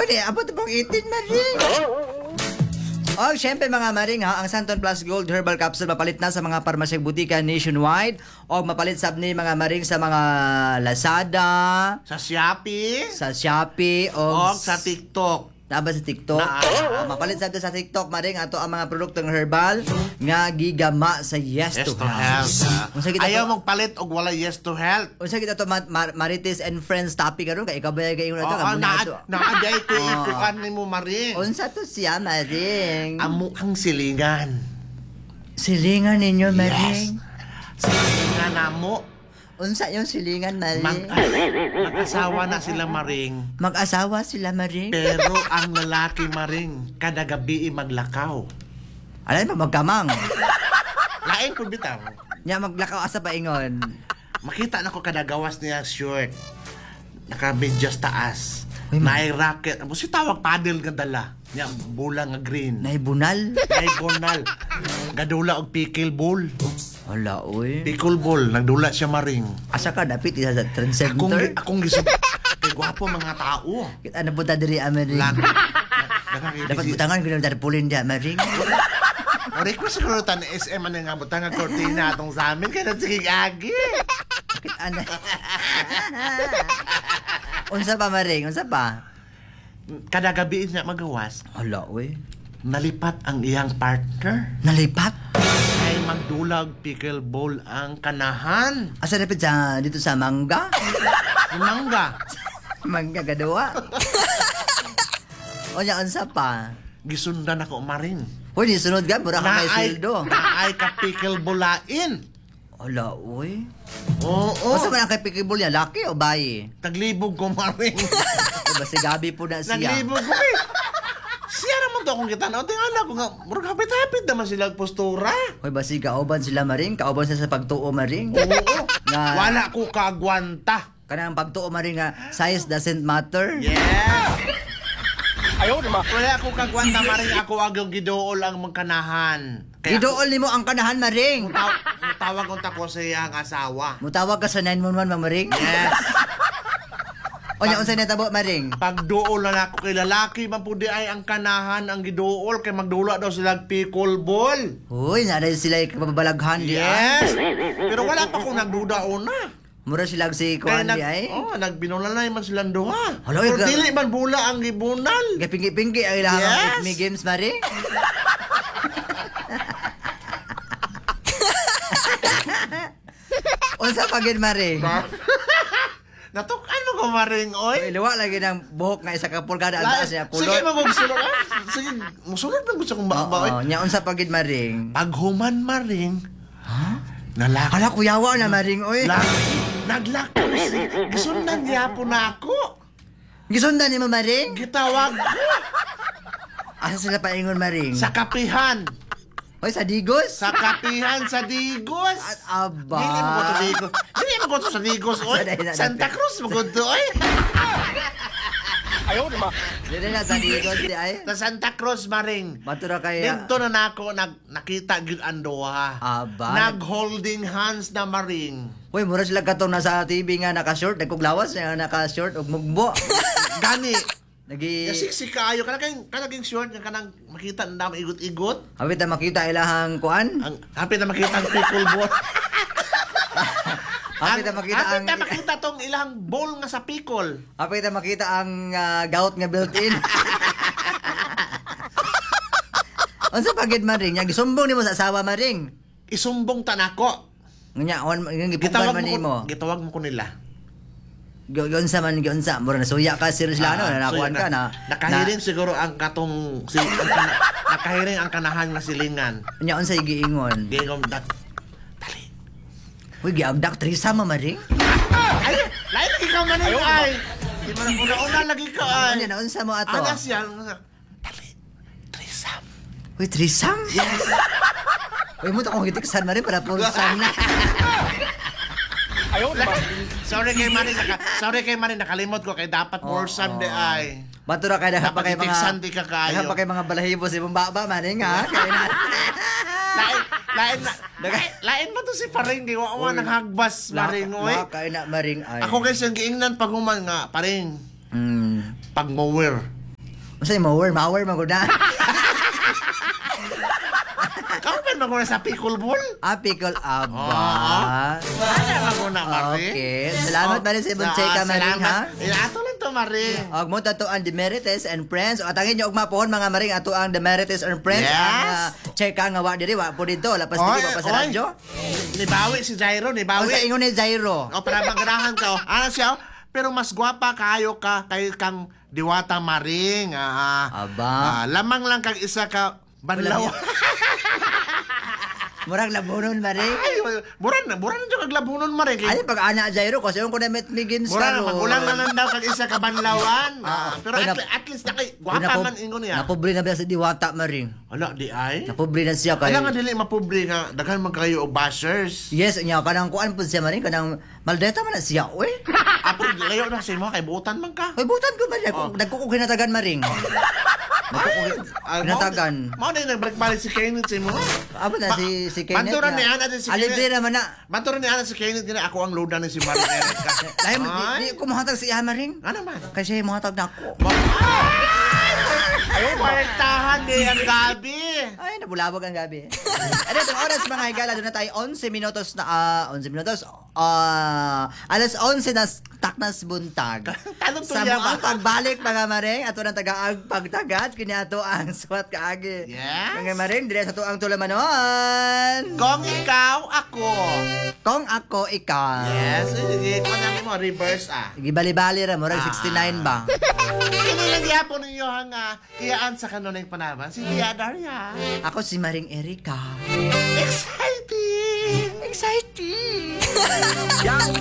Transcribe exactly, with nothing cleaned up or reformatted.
Oy, di, abot pong eighteen, Maring. Oh, syempre mga maring ha, ang Santon Plus Gold Herbal Capsule mapalit na sa mga parmasyang butika nationwide o mapalit sab ni mga maring sa mga Lazada, Sa Shopee, sa Shopee o o sa TikTok. Naa ba sa TikTok? Naa. Oh, mapalit sab sa TikTok maring ato ang mga produktong herbal nga gigama sa Yes, Yes to to Health. Health. Unsa kita Ayaw to- mong palit og wala Yes to Health. Unsa kita to ma- ma- Marites and Friends topic karon kay ikaw ba kay ingon ato Oo, kamo na naa ato. naa day ko Oo. ikuan nimo, maring. Unsa to siya, maring? Amo ang silingan. Silingan ninyo, maring. Silingan namo. Unsa yung silingan, Mag maring? Mag-asawa na sila, maring. Mag-asawa sila, maring? Pero ang lalaki, maring, kada gabi maglakaw. Alay pa magkamang. Lain po bitaw. Nya maglakaw asa pa ingon? Makita na ko kada gawas niya short. Naka-medyas taas. Uy, ma- Naay racket. Amo si tawag paddle nga dala. Nya bola nga green. Naibunal. Naay bonal. Gadula og pickle ball. Hala, uy. Pickle ball nagdula siya, maring. Asa ka dapit isa sa trend Akong center? Akong gisub kay gwapo mga tao. Kita na punta diri, ah, maring. Lag. Dapat butangan ko ng tarpaulin diya, maring. O request siguro tan S M ano nga butang nga kortina atong sa amin kay sige agi. Kita na. Unsa pa, maring? Unsa pa? Kada gabi niya magawas, Hala, uy. Nalipat ang iyang partner. Nalipat? Ay magdulag pickle ball ang kanahan. Asa dapit sa dito sa mangga? Mangga. Mangga gadawa. Onya, unsa pa? Gisundan ako, maring. Uy, di sunod ka, mura ka may Naay sweldo. Naay ka pickle bolain. Hala, uy. Oo. Unsa man ang kay pickle niya, laki o bayi? Taglibog ko, maring. O ba si Gabi po na siya? Naglibog ko eh. Siya naman to akong kita. Tingala ko nga, murag hapit-hapit naman sila ang postura. Hoy, basi kauban sila, maring, kauban sila sa pagtuo, maring. Oo. Nga Wala ko kaagwanta. Kanang pagtuo, maring, nga size doesn't matter. Yeah. Ayaw naman. Wala ko kagwanta, maring. Ako agyong gidool ang magkanahan. Kaya Gidool nimo ang kanahan, maring. Mutaw mutawag unta ko sa iyang asawa. Mutawag ka sa nine one one, maring. Yes. Onya, unsay natabo, maring? Pagduol na ako kay lalaki man pud di ay ang kanahan ang giduol kay magdula daw sila pickle ball. Uy, naa sila kababalaghan di ah. Yes. Pero wala pa ko nagduda una. Mura sila si Kaya kuan nag, di ay. Oh, nagbinula man silang duha. Hala, Pero ga- dili man bula ang gibunal. Gapingi-pingi ang ilang Yes. yes. Games, maring. Unsa pa gid, maring? Natuk ano ko, maring, oy. Uy, luwa lagi ng buhok nga isa ka pulgada ang taas niya Sige, kulot. magugsulod. Ah, sige, musulod na gusto kong ba, Oo, nya unsa pa gid, maring? Paghuman, maring, Ha? nalak. Hala, kuyawa na, maring, oy. Lak, naglakaw si. Gisundan niya po na ako. Gisundan nimo, maring? Gitawag ko. Asa sila paingon, maring? Sa kapihan. Hoy, sa Digos? Sa kapihan sa Digos. At aba. Dili mo ko to Digos. Dili mo ko to sa Digos, oy. Sa dahil na- Santa Cruz mo ko to, oy. Dili na sa Digos di ay. Sa Santa Cruz, maring. Matura kay Dito na nako nag nakita gyud ang duha. Aba. Nag-holding hands na, maring. Hoy, mura sila katong nasa T V nga naka-short, nagkuglawas nga naka-short ug mugbo. Gani. Nagi Sexy kaayo kana kay kanang short nga kanang makita na dami igot-igot. Hapit na makita ilahang kuan. Ang hapit na makita ang pickle ball. Hapit na makita hapit ang na makita tong ilang bowl nga sa pickle. Hapit na makita ang ah, gout nga built-in. Unsa pa gid, maring? Nya gisumbong nimo sa asawa, maring? Isumbong ta nako. Nya on gipugan Gitawag man mo nimo. ko, gitawag mo ko nila. Giunsa man giunsa, mura nasuya ka sir sila no, Ah, nanakuan so, ka na. Nakahiring siguro ang katong si ang kana, nakahiring ang kanahan nga silingan. Na, nya unsa giingon? Gingom dat. Dali. Uy, giagdak threesome, maring. Ay, lain lagi ka man ay. Di man una-una lagi ka ay. Ano na unsa mo ato? Ana siya. Dali. Threesome. Uy, threesome? Yes. Uy, mo to akong gitiksan, maring, para foursome na. Sorry kay Mari, naka, sorry kay Mari, nakalimot ko kay dapat foursome di ay. Bato ra kay daghan pa Dapat kay mga itiksan di ka kaayo. Daghan pa kay mga balahibo sa imong baba, maring ha. Kay na. Lain, lain, na, lain, lain mo to si Paring, di wa wa nang hagbas, Maring, oy. La kay na, maring ay. Ako kay siyang giingnan pag human nga, Paring, Mm. pag mower. Unsa yung mower? Mower man gud na. Kauban man ko na sa pickleball. Ah, pickle aba. Oo. Ano man ko na, Maring? Okay. Salamat, Maring, sa imong Ah, chika, Maring, ha? salamat. Eh, ato lang to, Maring. Og mo tato ang Demerites and Friends. O atangin nyo og mapuhon mga maring ato ang Demerites and Friends. Yes. Ang uh, chika nga wa diri wa po dito, lapas diri wa pa sa Oy, radyo. Nibawi si Jairo, nibawi. Unsa ingon ni Jairo? O, para magarahan ka. O. Ano siya? oh? Pero mas gwapa kayo ka kay kang Diwata Maring. Ah, Aba. ah, lamang lang kag isa ka banlaw. Murag labunon maring. Ay, mura na, mura na kag labunon Maring. Ay pag ana Jairo kasi yung ko na met mi games Mura na, karon. magulang na lang daw kag isa ka banlawan. Ah, pero Ay, at, nap- at least na kay gwapa man ingon niya. Napobre na ba si Diwata maring? Ala, di ay. Napobre na siya kay. Ala nga dili mapobre nga daghan man kayo og bashers. Yes, nya kanang kuan pud siya maring kanang maldeta man na siya oy. Ah, pero layo na sa imo kay buutan man ka. Oy butan ko maring. Oh. Nagko ko ginatagan maring. Nagko ko Ah, ginatagan. Mao na nagbalik-balik si Kenneth sa imo. Abo na si si Kenneth. Banturan na. ni Ana din si Alibre Kenneth. naman na. Banturan ni Ana si Kenneth gina ako ang loda ni si Maring Erica. Dahil di, Ay. di ko mohatag sa iya maring. Ano man? Kasi mohatag na ako. Ay, kwartahan ni ang gabi. Ay, nabulabog ang gabi. Ano itong oras mga higala, doon na tayo eleven minutos na, ah, eleven minutos, ah, alas onse na taknas buntag. Tanong Sa tuya mga ba? pagbalik mga maring, ato ng tagaag pagtagat, kini ato ang suwat kaagi. Yes. Mga maring, dire sa tuang tulamanon. Kung ikaw, ako. Kung ako, ikaw. Yes, sige. Kung ano mo, reverse ah. Gibali-bali ra, murag Ah. sixty-nine ba? Kini lang gyapon ninyo ang ah, iyaan sa kanunay panaban. Si Tia Daria. Ako si Maring Erika. Exciting! Exciting! Yang